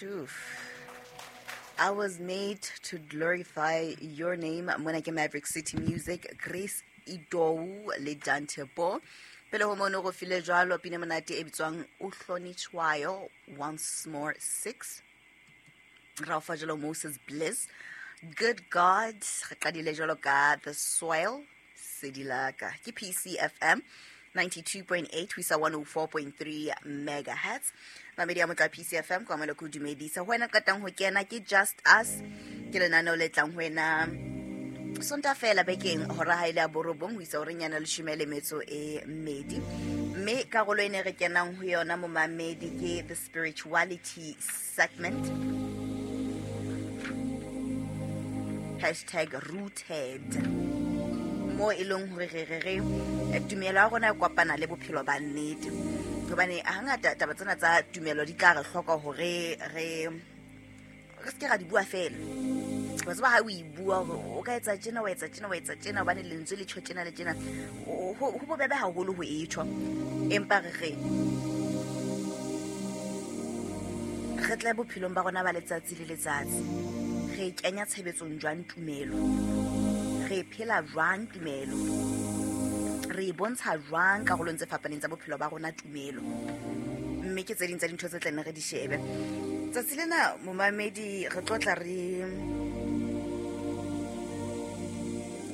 Shoof. I was made to glorify your name. Mona ke Maverick City Music, Grace Idou le Dante Bo. Pele ho mono go file jwalo pina monate e bitswang o hlonitshwayo once more 6. Ra o fa jalo Moses Bliss. Good God, re qadile jwalo ka The Soil Sedilaka. Ke PCFM 92.8 ho isa 104.3 megahertz. Mamedi ya motla PCFM kwa mole ko dumedisa. Ho wena qetang ho kena ke Just Us. Ke lenaneo le tlang ho wena Sonta fela bekeng hora ha ile ya borobong ho isa horeng ya leshome le metso e mmedi. Mme karolo e ne re kenang ho yona momamedi ke the spirituality segment. Hashtag rooted. Mo e leng hore re re re tumelo ya rona e kopana le bophelo ba nnete. Hobane hangata taba tsena tsa tumelo di tla re hloka hore re re seke ra di bua fela. Wa tseba ha o e bua hore o ka etsa tjena, wa etsa tjena, wa etsa tjena, hobane lentswe le tjho tjena le tjena. Ho bobebe haholo ho e tjho. Empa re re re tle bophelong ba rona ba letsatsi le letsatsi. Re kenya tshebetsong jwang tumelo? Re phela jwang tumelo? Re e bontsha jwang karolong tse fapaneng tsa bophelo ba rona tumelo? Mme ke tse ding tsa dintho tse tla nne re di shebe. Tsatsi lena momamedi re tlo tla re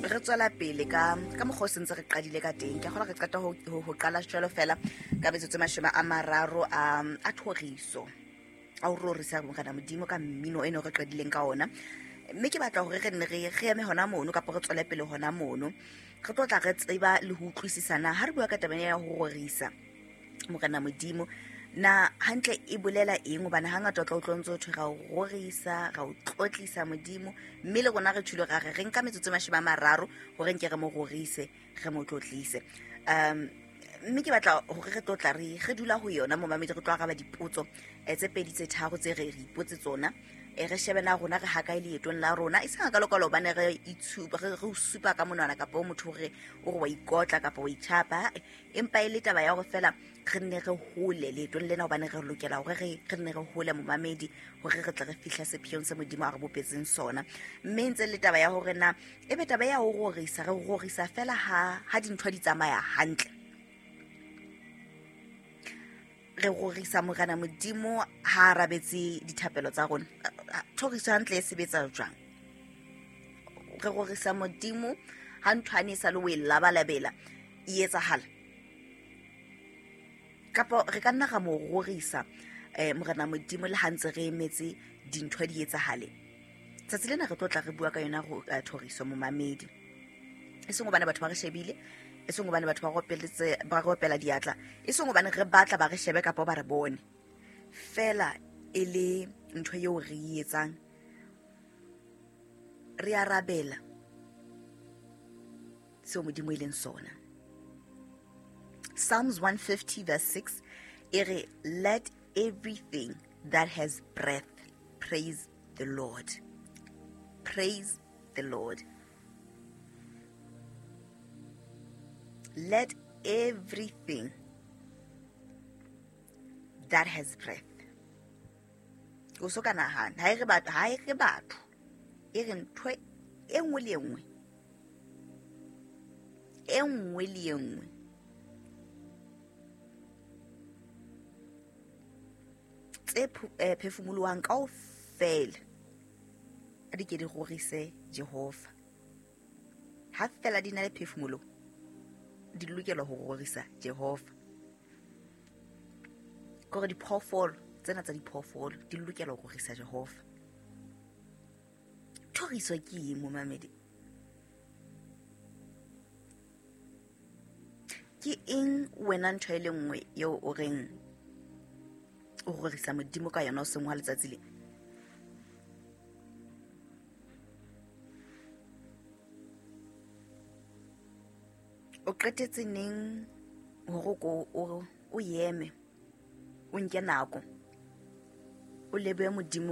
re tswela pele ka mokgwa o sentse re qadile ka teng. Ke a kgolwa re qeta ho qala jwalo fela ka metsotso e 30 a thoriso. A ho rorisa Morena Modimo ka mmino eno re qadileng ka ona. Mme ke batla hore re nne re eme hona mono kapa re tswele pele hona mono. Re tlo tla re tseba le ho utlwisisana ha re bua ka taba ya ho rorisa Morena Modimo. Na hantle e bolela eng? Hobane hangata o tla utlwa ntse ho thwe ra o rorisa, ra o tlotlisa Modimo. Mme le rona re tjholo ra re re nka metsotso e 30 hore nke re mo rorise, re mo tlotlise. Mme ke batla hore re tlo tla re dula ho yona momamedi, re tlo araba dipotso tse pedi tse tharo tse re ipotse tsona. Re shebe na rona re hakae leetong la rona. E seng hakalo-kalo hobane re itshupa, re o supa ka monwana kapa o motho hore o re wa ikotla kapa wa itjhapa. Empa e le taba ya hore fela re nne re hole leetong lena, hobane re lokela hore re nne re hole momamedi hore re tle re fihle sepheong se Modimo a re bopetseng sona. Mme ntse le taba ya hore na ebe taba ya ho rorisa, re rorisa fela ha dintho di tsamaya hantle. Re rorisa Morena Modimo ha a arabetse dithapelo tsa rona. Thoriso hantle e sebetsa jwang? Re rorisa Modimo ha ntho ane e sa le o e labalabela e etsahala. Kapa re ka nna ra mo rorisa Morena Modimo le ha ntse re emetse dintho di etsahale. Tsatsi lena re tlo tla re bua ka yona thoriso momamedi. E seng hobane batho ba re shebile, e seng hobane batho ba re opela diatla, e seng hobane re batla ba re shebe kapa ba re bone. Fela e le ntho eo re e etsang, re arabela seo Modimo e leng sona. Psalms 150 verse 6 e re, let everything that has breath praise the Lord. Praise the Lord. Let everything that has breath. O so ka nahana, ha e re batho, ha e re batho, e re ntho e nngwe le e nngwe. E nngwe le e nngwe. Tse phefumoloang kaofela a di ke di rorise Jehova. Ha fela di na le phefumolo, di lokela ho rorisa Jehova. Kore diphoofolo tsena tsa diphoofolo di lokela ho rorisa Jehova. Thoriso ke eng momamedi? Ke eng wena ntho e le nngwe eo o reng o rorisa Modimo ka yona o seng wa letsatsi le? O qetetse neng hore o yeme, o nke nako, o lebohe Modimo